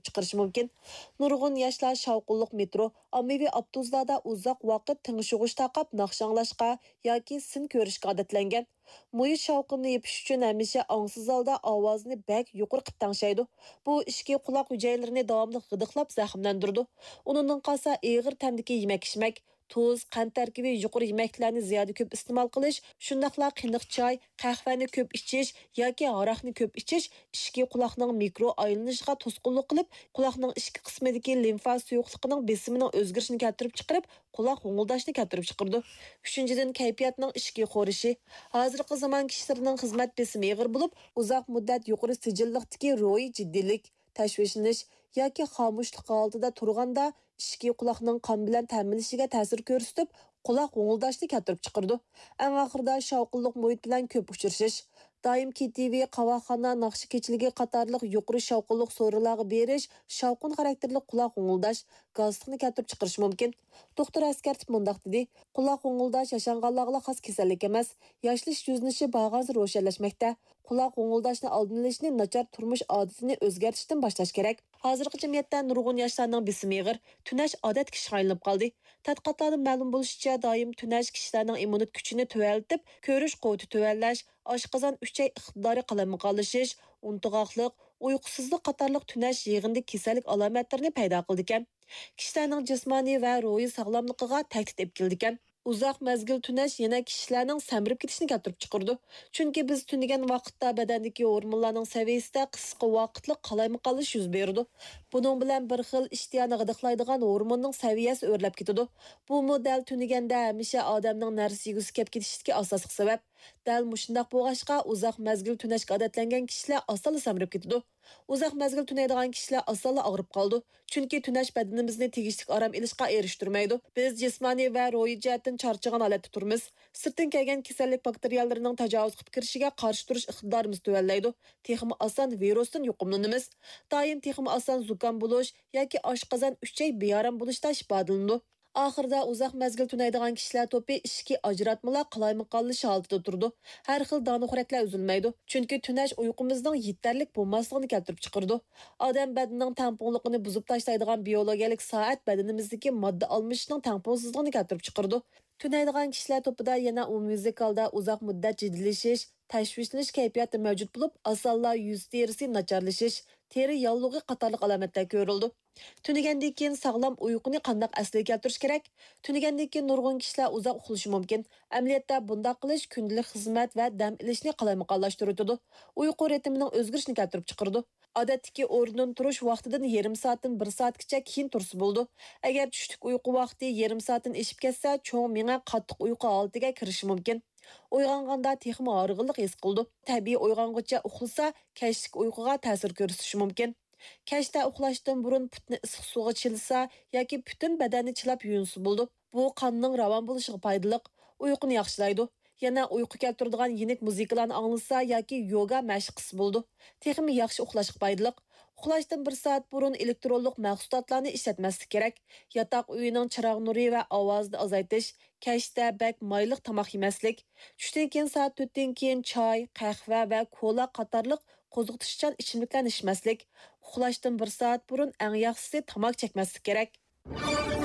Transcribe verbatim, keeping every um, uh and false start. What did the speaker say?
چىقىرىشى مۇمكىن. نۇرغۇن ياشلار شاۋقۇنلۇق مېترو، ئاممىۋى ئاپتوبۇسلاردا ئۇزاق ۋاقىت تىڭشىغۇچ تاقاپ ناخشا ئاڭلاشقا ياكى سىن كۆرۈشكە ئادەتلەنگەن. مۇھىت شاۋقۇننى يېپىش ئۈچۈن ھەمىشە ئاڭسىز ھالدا ئاۋازىنى بەك يۇقىرى قىلىپ تەڭشەيدۇ. بۇ ئىچكى قۇلاق ھۈجەيرىلىرىنى داۋاملىق غىدىقلاپ زەخىملەندۈرىدۇ. ئۇنىڭدىن قالسا ئېغىر تەمدىكى يېمەك-ئىچمەك، تۇز، قەنت تەركىبى يۇقىرى يېمەكلىكلەرنى زىيادە كۆپ ئىستېمال قىلىش، شۇنداقلا قېنىق چاي، قەھۋەنى كۆپ ئىچىش ياكى ھاراقنى كۆپ ئىچىش ئىچكى قۇلاقنىڭ مىكرو ئايلىنىشىغا توسقۇنلۇق قىلىپ، قۇلاقنىڭ ئىچكى قىسمىدىكى لىمفا سۇيۇقلۇقىنىڭ بېسىمىنىڭ ئۆزگىرىشىنى كەلتۈرۈپ چىقىرىپ، قۇلاق ھوڭۇلداشنى كەلتۈرۈپ چىقىرىدۇ. ئۈچىنچىدىن، كەيپىياتنىڭ ئىچكى خورىشى. ھازىرقى زامان كىشىلىرىنىڭ خىزمەت بېسىمى ئېغىر بولۇپ، ئۇزاق مۇددەت يۇقىرى سىجىللىقتىكى روھىي جىددىيلىك، تەشۋىشلىنىش ياكى خامۇشلۇق ھالىتىدە تۇرغاندا، ئىچكى قۇلاقنىڭ قان بىلەن تەمىنلىشىگە تەسىر كۆرسىتىپ، قۇلاق ھوڭۇلداشنى كەلتۈرۈپ چىقىرىدۇ. ئەڭ ئاخىرىدا شاۋقۇنلۇق مۇھىت بىلەن كۆپ ئۇچرىشىش. دائىم كېتىۋى، قاۋاقخانا، ناخشا كېچىلىكى قاتارلىق يۇقىرى شاۋقۇنلۇق سورۇنلارغا بېرىش شاۋقۇن خاراكتېرلىك قۇلاق ھوڭۇلداش، گاسلىقنى كەلتۈرۈپ چىقىرىشى مۇمكىن. دوختۇر ئەسكەرتىپ مۇنداق دېدى: قۇلاق ھوڭۇلداش ياشانغانلارغىلا خاس كېسەللىك ئەمەس، ياشىنىش يۈزلىنىشى بارغانسېرى روشەنلەشمەكتە. قۇلاق ھوڭۇلداشنى ئالدىنى ئېلىشنى ناچار تۇرمۇش ئادىتىنى ئۆزگەرتىشتىن باشلاش كېرەك. ھازىرقى جەمئىيەتتە نۇرغۇن ياشلارنىڭ بېسىمى ئېغىر، تۈنەش ئادەتتىكى ئىشقا ئايلىنىپ قالدى. تەتقىقاتلاردىن مەلۇم بولۇشىچە، دائىم تۈنەش كىشىلەرنىڭ ئىممۇنىتېت كۈچىنى تۆۋەنلىتىپ، كۆرۈش قۇۋۋىتى تۆۋەنلەش، ئاشقازان ئۈچەي ئىقتىدارى قالايمىقانلىشىش، ئۇنتۇغاقلىق، ئۇيقۇسىزلىق قاتارلىق تۈنەش يىغىندىكى كېسەللىك ئالامەتلىرىنى پەيدا قىلىدىكەن. كىشىلەرنىڭ جىسمانىي ۋە روھىي ساغلاملىقىغا تەھدىت ئېلىپ كېلىدىكەن. ئۇزاق مەزگىل تۈنەش يەنە كىشىلەرنىڭ سەمرىپ كېتىشىنى كەلتۈرۈپ چىقىرىدۇ. چۈنكى بىز تۈنىگەن ۋاقىتتا بەدەندىكى ھورمونلارنىڭ سەۋىيەسىدە قىسقا ۋاقىتلىق قالايمىقانلىشىش يۈز بېرىدۇ. بۇنىڭ بىلەن بىر خىل ئىشتىيانى غىدىقلايدىغان ھورموننىڭ سەۋىيەسى ئۆرلەپ كېتىدۇ. بۇمۇ دەل تۈنىگەندە ھەمىشە ئادەمنىڭ نەرسە يېگۈسى كەپ كېتىشىدىكى ئاساسلىق سەۋەب. دەل مۇشۇنداق بولغاچقا، ئۇزاق مەزگىل تۈنەشكە ئادەتلەنگەن كىشىلەر ئاسانلا سەمرىپ كېتىدۇ. ئۇزاق مەزگىل تۈنەيدىغان كىشىلەر ئاسانلا ئاغرىپ قالىدۇ. چۈنكى تۈنەش بەدىنىمىزنى تېگىشلىك ئارام ئېلىشقا ئېرىشتۈرمەيدۇ. بىز جىسمانىي ۋە روھىي جەھەتتىن چارچىغان ھالەتتە تۇرىمىز. سىرتتىن كەلگەن كېسەللىك باكتېرىيەلىرىنىڭ تاجاۋۇز قىلىپ كىرىشىگە قارشى تۇرۇش ئىقتىدارىمىز تۆۋەنلەيدۇ. تېخىمۇ ئاسان ۋىرۇستىن يۇقۇملىنىمىز. دائىم تېخىمۇ ئاسان زۇكام بولۇش ياكى ئاشقازان ئۈچەي بىئارام بولۇشتا ئىپادىلىنىدۇ. ئاخىرىدا ئۇزاق مەزگىل تۈنەيدىغان كىشىلەر توپى ئىچكى ئاجراتمىلار قالايمىقانلىشىش ھالىتىدە تۇرىدۇ. ھەر خىل دانىخورەكلەر ئۈزۈلمەيدۇ. چۈنكى تۈنەش ئۇيقۇمىزنىڭ يېتەرلىك بولماسلىقىنى كەلتۈرۈپ چىقىرىدۇ. ئادەم بەدىنىنىڭ تەڭپۇڭلۇقىنى بۇزۇپ تاشلايدىغان بىيولوگىيەلىك سائەت بەدىنىمىزدىكى ماددا ئالمىشىشنىڭ تەڭپۇڭسىزلىقىنى كەلتۈرۈپ چىقىرىدۇ. تۈنەيدىغان كىشىلەر توپىدا يەنە ئومۇميۈزلۈك ھالدا ئۇزاق مۇددەت جىددىيلىشىش، تەشۋىشلىنىش كەيپىياتى مەۋجۇت بولۇپ، ئاسانلا يۈز تېرىسى ناچارلىشىش، تېرە ياللۇغى قاتارلىق ئالامەتلەر كۆرۈلىدۇ. تۈنىگەندىن كېيىن ساغلام ئۇيقۇنى قانداق ئەسلىگە كەلتۈرۈش كېرەك؟ تۈنىگەندىن كېيىن نۇرغۇن كىشىلەر ئۇزاق ئۇخلىشى مۇمكىن. ئەمەلىيەتتە بۇنداق قىلىش كۈندىلىك خىزمەت ۋە دەم ئېلىشنى قالايمىقانلاشتۇرۇۋېتىدۇ. ئۇيقۇ رىتىمىنىڭ ئۆزگىرىشىنى كەلتۈرۈپ چىقىرىدۇ. ئادەتتىكى ئورنىدىن تۇرۇش ۋاقتىدىن يېرىم سائەتتىن بىر سائەتكىچە كېيىن تۇرسا بولىدۇ. ئەگەر چۈشلۈك ئۇيقۇ ۋاقتى يېرىم سائەتتىن ئېشىپ كەتسە، چوڭ مېڭە قاتتىق ئۇيقۇ ھالىتىگە كىرىشى مۇمكىن. ئويغانغاندا تېخىمۇ ھارغىنلىق ھېس قىلىدۇ. تەبىئىي ئويغانغۇچە ئۇخلىسا، كەچلىك ئۇيقۇغا تەسىر كۆرسىتىشى مۇمكىن. كەچتە ئۇخلاشتىن بۇرۇن پۇتنى ئىسسىق سۇغا چىلىسا ياكى پۈتۈن بەدەننى چىلاپ يۇيۇنسا بولىدۇ. بۇ قاننىڭ راۋان بولۇشىغا پايدىلىق، ئۇيقۇنى ياخشىلايدۇ. يەنە ئۇيقۇ كەلتۈرىدىغان يېنىك مۇزىكىلارنى ئاڭلىسا ياكى يوگا مەشىق قىلسا بولىدۇ. تېخىمۇ ياخشى ئۇخلاشقا پايدىلىق. ئۇخلاشتىن بىر سائەت بۇرۇن ئېلېكترونلۇق مەھسۇلاتلارنى ئىشلەتمەسلىك كېرەك. ياتاق ئۆيىنىڭ چىراغ نۇرى ۋە ئاۋازىنى ئازايتىش، كەچتە بەك مايلىق تاماق يېمەسلىك، چۈشتىن كېيىن سائەت تۆتتىن كېيىن چاي، قەھۋە ۋە كولا قاتارلىق قوزغىتىشچان ئىچىملىكلەرنى ئىچمەسلىك، ئۇخلاشتىن بىر سائەت بۇرۇن ئەڭ ياخشىسى تاماكا چەكمەسلىك كېرەك.